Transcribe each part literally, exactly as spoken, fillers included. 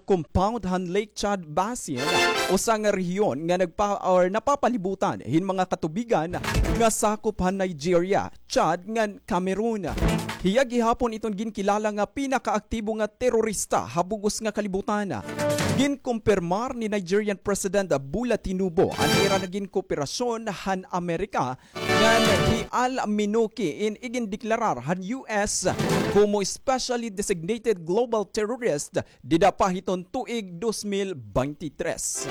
compound han Lake Chad Basin, usa nga rehiyon nga nagpa-, or napapalibutan hin mga katubigan nga sakop han Nigeria, Chad, ngan Cameroon. Hiya gihapon iton ginkilala nga pinakaaktibo nga terorista ha bug-os nga kalibutan. Ginkumpirmar ni Nigerian President Bola Tinubu an ira nga ginkooperasyon han Amerika ngan hi Al Minuki in igindeklarar han U S komo specially designated global terrorist dida pa hiton tuig dos mil beintitres.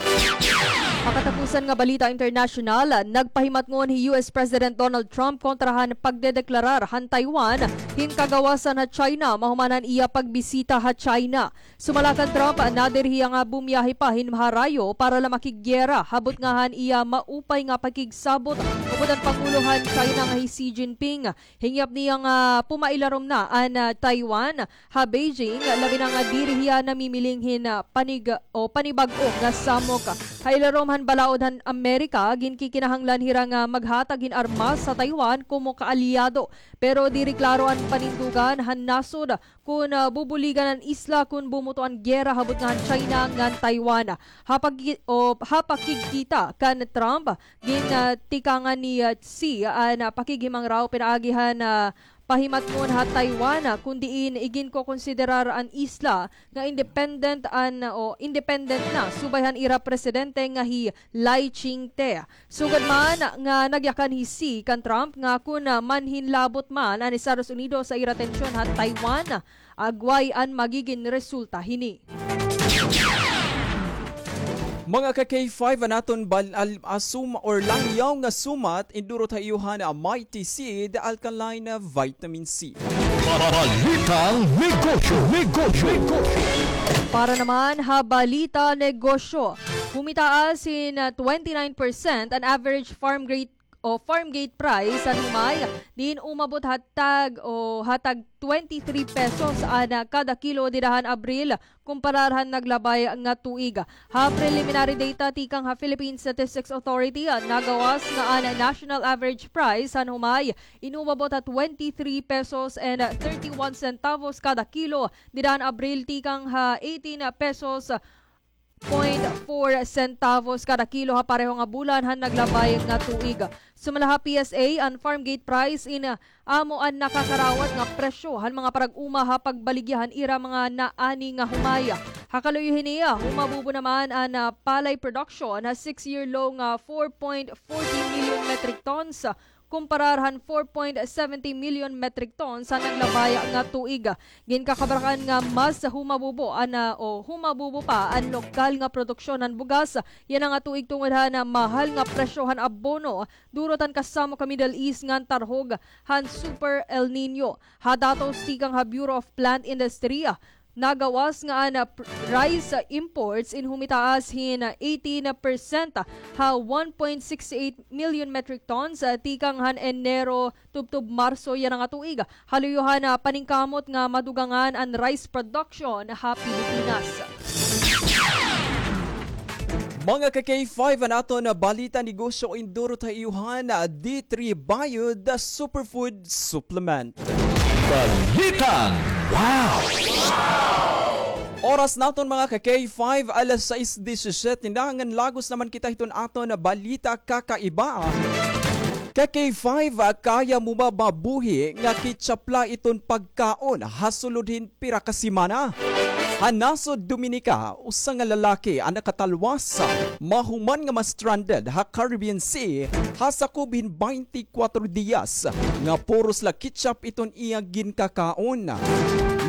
Ha katapusan nga balita internasyonal, nagpahimatngon hi U S President Donald Trump kontra han pagdedeklarar han Taiwan hin kagawasan ha China mahuman han iya pagbisita ha China. Sumala kan Trump, nader hiya nga bumiyahe pa hin maharayo para la makiggiyera ha butnga han iya maupay nga pakigsabot upod han pangulo han China nga hi Xi Jinping. Hingyap niya nga pumailarom na an, ah, Taiwan ha Beijing, labi na nga diri hiya namimiling hin, ah, panig-, o panibag-o nga samok. Ha ilarom han balaod han Amerika, ginkikinahanglan hira nga maghatag hin armas sa Taiwan komo kaalyado. Pero diri klaro an panindugan han nasod kon, ah, bubuligan an isla kon bumuto an giyera ha butnga han China ngan Taiwan. Ha pagki-, o, ha pakigkita kan Trump, gin, ah, tikangan ni, ah, Xi an, ah, pakighimangraw pinaagi han, ah, pahimatngon ha Taiwan, ah, kon diin iginkokonsiderar an isla nga independent an, o independent na subay han ira presidente nga hi Lai Ching-te. Sugad man nga nagyakan hi Xi kan Trump nga kon, ah, manhinlabot man an Estados Unidos sa ira tensyon ha Taiwan, agway an magigin resulta hini. Mga ka K five, an aton bal-, al-, asum-, or langyaw nga sumat, indurot ha iyo han Mighty Seed Alkaline Vitamin C. Balitang Negosyo, Negosyo, Negosyo. Para naman ha Balita Negosyo, humitaas hin, ah, twenty-nine percent an average farm gate o farm gate price han humay, diin umabot ha tag, o ha tag twenty-three pesos an, ah, kada kilo dida han Abril, kumparar han naglabay nga tuig. Ha preliminary data tikang ha Philippine Statistics Authority, ah, nagawas nga an national average price han humay in umabot ha twenty-three pesos and thirty-one centavos kada kilo dida han Abril tikang ha eighteen pesos point four centavos kada kilo ha pareho nga bulan han naglabay nga tuig. Sumala ha P S A, an farm gate price in, ah, amo an nakakarawat nga presyo han mga parag-uma ha pagbaligya han ira mga naani nga humay. Ha kaluyo hini, ah, humabubo naman an, ah, palay production ha six-year low nga four point forty million metric tons, kumparar han four point seventy million metric tons han naglabay nga tuig. Ginkakabarakan nga mas humabubo an, ah, o humabubo pa an lokal nga produksyon han bugas yana nga tuig tungod han, ah, mahal nga presyo han abono, durot han kasamok ha Middle East ngan tarhog han Super El Niño. Ha datos tikang ha Bureau of Plant Industry, nagawas nga an, ah, pr-, rice, ah, imports in humitaas hin, ah, eighteen percent ha one point six eight million metric tons, ah, tikang han Enero tubtob Marso yana nga tuig. Ha luyo han, ah, paningkamot nga madugangan an rice production ha Pilipinas. Mga ka K five, an aton balita negosyo indurot ha iyo han D three Bio, the superfood supplement. Balitang Wow! Oras naton, mga ka K five, alas sais disisiete na, ngan lagos naman kita hiton aton balita kakaiba. Ka K five, kaya mo ba mabuhi nga ketchup la iton pagkaon ha sulod hin pira ka semana? Ha nasod Dominica, usa nga lalaki an nakatalwas mahuman nga ma-stranded ha Caribbean Sea ha sakob hin baynte kwatro diyas nga puros la ketchup iton iya ginkakaon.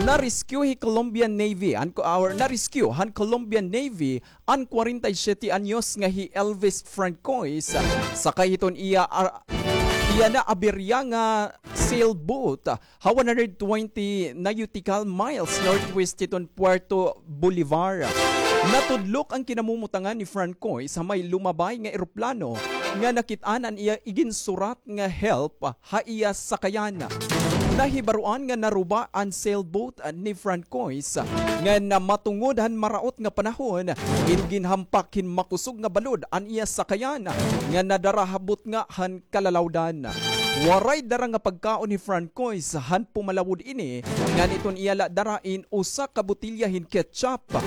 Na-rescue hi Colombian Navy, an, or na-rescue han Colombian Navy an kwarenta y siyete anyos nga hi Elvis Francois, sakay hiton iya, ar-, iya naaberya nga sailboat ha one hundred twenty nautical miles northwest hiton Puerto Bolivar. Natudlok an kinamumutangan ni Francois ha may lumabay nga eroplano nga nakit-an an iya iginsurat nga help ha iya sakayan. Nahibaroan nga naruba an sailboat ni Francois, ngan matungod han maraot nga panahon, in ginhampak hin makusog nga balod an iya sakayan nga nadara ha butnga han kalalawdan. Waray dara nga pagkaon hi Francois han pumalawod ini, ngan iton iya la dara in usa ka botelya hin ketchup,